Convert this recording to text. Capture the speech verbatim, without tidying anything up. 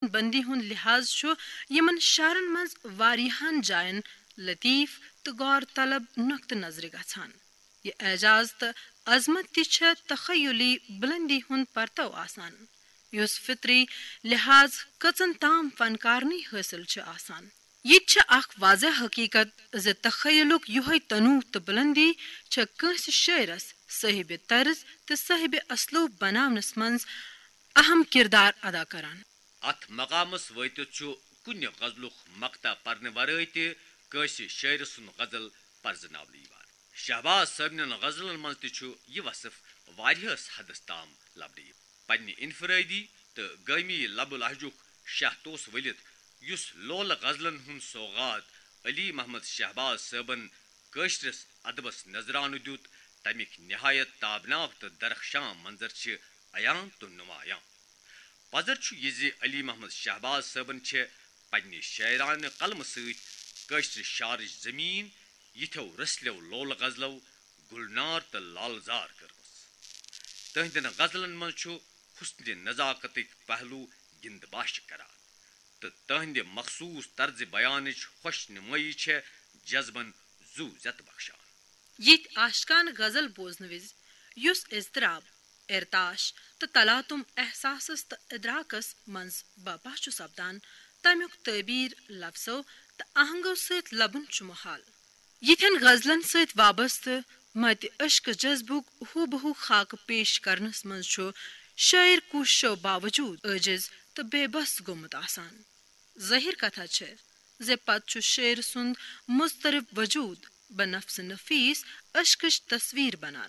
بندی ہُنٛد لحاظ چھُ یِمن شعرن منٛز واریاہن جاین لطیف تہٕ غور طلب نقطہٕ نظرِ گژھان۔ یہِ اعجاز تہٕ عظمت تہِ چھےٚ تخیلی بلندی ہُنٛد پرتو آسان، یُس فطری لحاظ کٔژن تام فنکارنٕے حٲصِل چھِ آسان۔ یہِ تہِ چھِ اکھ واضح حقیقت زِ تخیلُک یِہوٚے تنوع تہٕ بلندی چھےٚ کٲنٛسہِ شٲعرس صٲحبِ طرز تہٕ صٲحبِ اسلوب بناونس منٛز اہم کردار ادا کران۔ اتھ مقامس وٲتِتھ چھُ کُنہِ غزلُک مقطع پرنہٕ ورٲے تہِ کٲنٛسہِ شٲعرٕ سُنٛد غزل پرزناونہٕ یِوان۔ شہباز صٲبنٮ۪ن غزلن منٛز تہِ چھُ یہِ وصف واریاہس حدس تام لبنہٕ یِوان۔ پننہِ انفرٲدی تہٕ گٲمی لب و لہجُک شاہ توس ؤلِتھ، یُس لولہٕ غزلن ہُنٛد سوغات علی محمد شہباز صٲبن کٲشرِس ادبس نذرانہٕ دیُت، تمِکۍ نہایت تابناک تہٕ درخشاں منظر چھِ عیان تہٕ نمایاں۔ پزر چھُ یہِ زِ علی محمد شہباز صٲبن چھِ پننہِ شاعرانہٕ قلمہٕ سۭتۍ کٲشرِ شعرٕچ زمین یِتھیو رسلٮ۪و لولہٕ غزلو گُلنار تہٕ لالزار کٔرمٕژ۔ تہنٛدٮ۪ن غزلن منٛز چھُ حسنِ نزاکتٕکۍ پہلو گِنٛدباش کران تہٕ تہنٛدِ مخصوص طرزِ بیانٕچ خۄش نمٲیی چھےٚ جذبن زُو زیتہٕ بخشان۔ یِتھۍ عاشقانہٕ غزل بوزنہٕ وِزِ یُس اضطراب، ارتاش تہٕ تلاتم احساسس تہٕ ادراکس منٛز بپا چھُ سپدان، تمیُک تعبیر لفظو تہٕ آہنگو سۭتۍ لبُن چھُ محال۔ یِتھٮ۪ن غزلن سۭتۍ وابستہٕ متہِ عشقہٕ جذبُک ہو بہو خاکہٕ پیش کرنس منٛز چھُ شٲعر کوٗششو باوجود عٲجز تہٕ بے بس گوٚمُت آسان۔ ظٲہر کتھا چھےٚ زِ پتہٕ چھُ شٲعر سُنٛد مضطرب وجود بنفس نفیس عشقٕچ تصویر بنان۔